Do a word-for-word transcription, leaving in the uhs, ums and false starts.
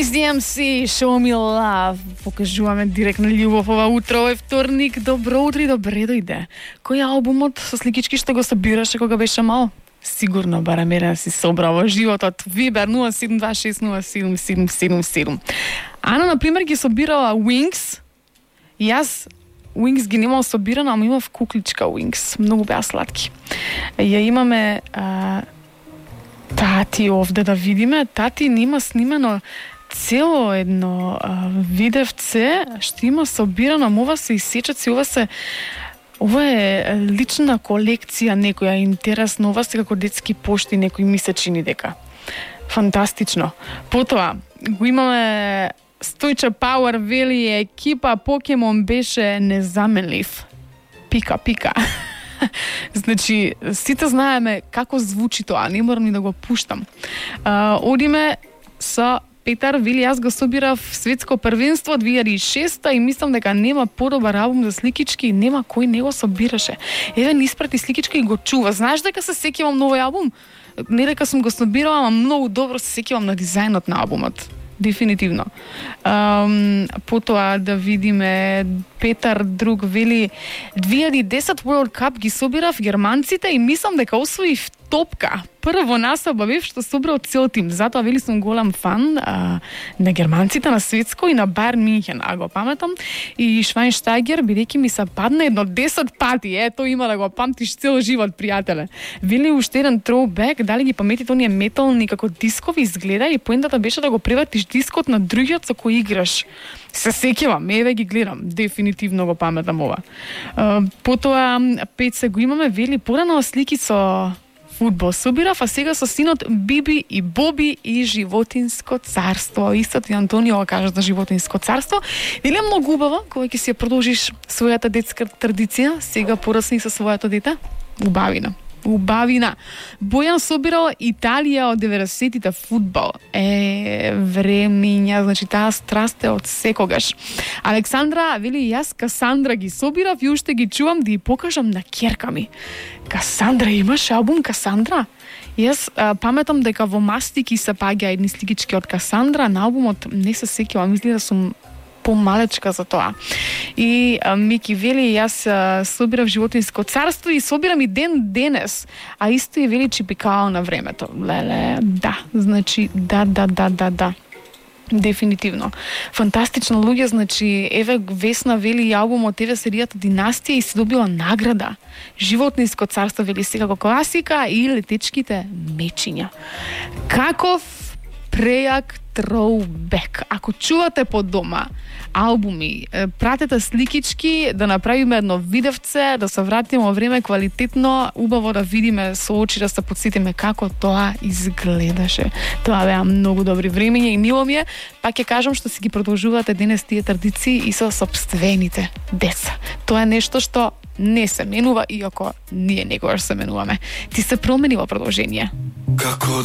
Run-D M C, Show Me Love. Покажуваме директно љубов ова утро, е вторник. Добро утро и добре дојде. Кој албумот со сликички што го собираше кога беше мал? Сигурно барем еден си собра во животот. Вибер нула седум два шест нула седум седум седум седум. Ана, например, ги собирала Wings. Јас Wings ги немал собирано, ама имав кукличка Wings. Многу беа сладки. Ја имаме а, тати овде да видиме. Тати нема снимено цело едно а, видевце што има собирано. Ова се исечаци, ова се ова е лична колекција некоја, интересно. Ова се како детски пошти, некој ми се чини дека. Фантастично. Потоа го имаме Стојче Пауер, вели екипа Покемон беше незаменлив. Пика, пика. Значи, сите знаеме како звучи тоа, не морам ни да го пуштам. А, одиме со Петар, вели јас го собирав светско првенство две илјади и шеста и мислам дека нема подобар албум за сликички и нема кој не го собираше. Еве ни испрати сликички и го чува. Знаеш дека се сеќавам новој албум? Не дека сум го собирала, ама многу добро се сеќавам на дизајнот на албумот. Дефинитивно. Um, потоа да видиме Петар друг вели две илјади и десет World Cup ги собирав германците и мислам дека освоив топка. Прво насоба бев што собрал цел тим. Затоа вели сум голем фан а, на германците на светско и на Байерн Мюнхен, а го паметам и Швајнштајгер бидејќи ми се падна едно десет пати. Ето има да го памтиш цел живот, пријателе. Вели уште еден throwback, дали ги паметите оние метални како дискови изгледа и поентата беше да го превратиш дискот на другиот со кој играш. Се сеќавам, еве ги гледам, дефинитивно го паметам ова. А, потоа пет се го имаме, вели порано слики со фудбал собирав, а сега со синот Биби и Боби и Животинско царство. Истото и Антонио го кажа за Животинско царство. Или е многу убаво, кога ќе си ја продолжиш својата детска традиција, сега порасни со своето дете? Убавина. Убавина. Бојан собирал Италија од деветдесетите фудбал. Е, времиња, значи таа страст е од секогаш. Александра вели јас Касандра ги собирав и уште ги чувам да ја покажам на ќерка ми. Касандра, имаш албум Касандра? Јас а, паметам дека во Мастики се паѓа едни сликички од Касандра, на албумот не се сеќавам, мисли да сум помалечка за тоа. И а, Мики вели јас а, собирав Животинско царство и собирам и ден денес, а исто и вели Чипикао на времето. Леле, да, значи да, да, да, да, да. Дефинитивно. Фантастично, луѓе, значи еве Весна вели албумот еве серијата Династија и се добила награда. Животинско царство вели сега како класика и Летечките мечиња. Каков прејак throwback. Ако чувате по дома албуми, пратете сликички, да направиме едно видевце, да се вратиме во време квалитетно, убаво да видиме со очи, да се подсетиме како тоа изгледаше. Тоа беа многу добри времења и мило ми е. Пак ќе кажам што си ги продолжувате денес тие традиции и со сопствените деца. Тоа е нешто што не се менува, иако ние некогаш се менуваме. Ти се промени во продолжение. Како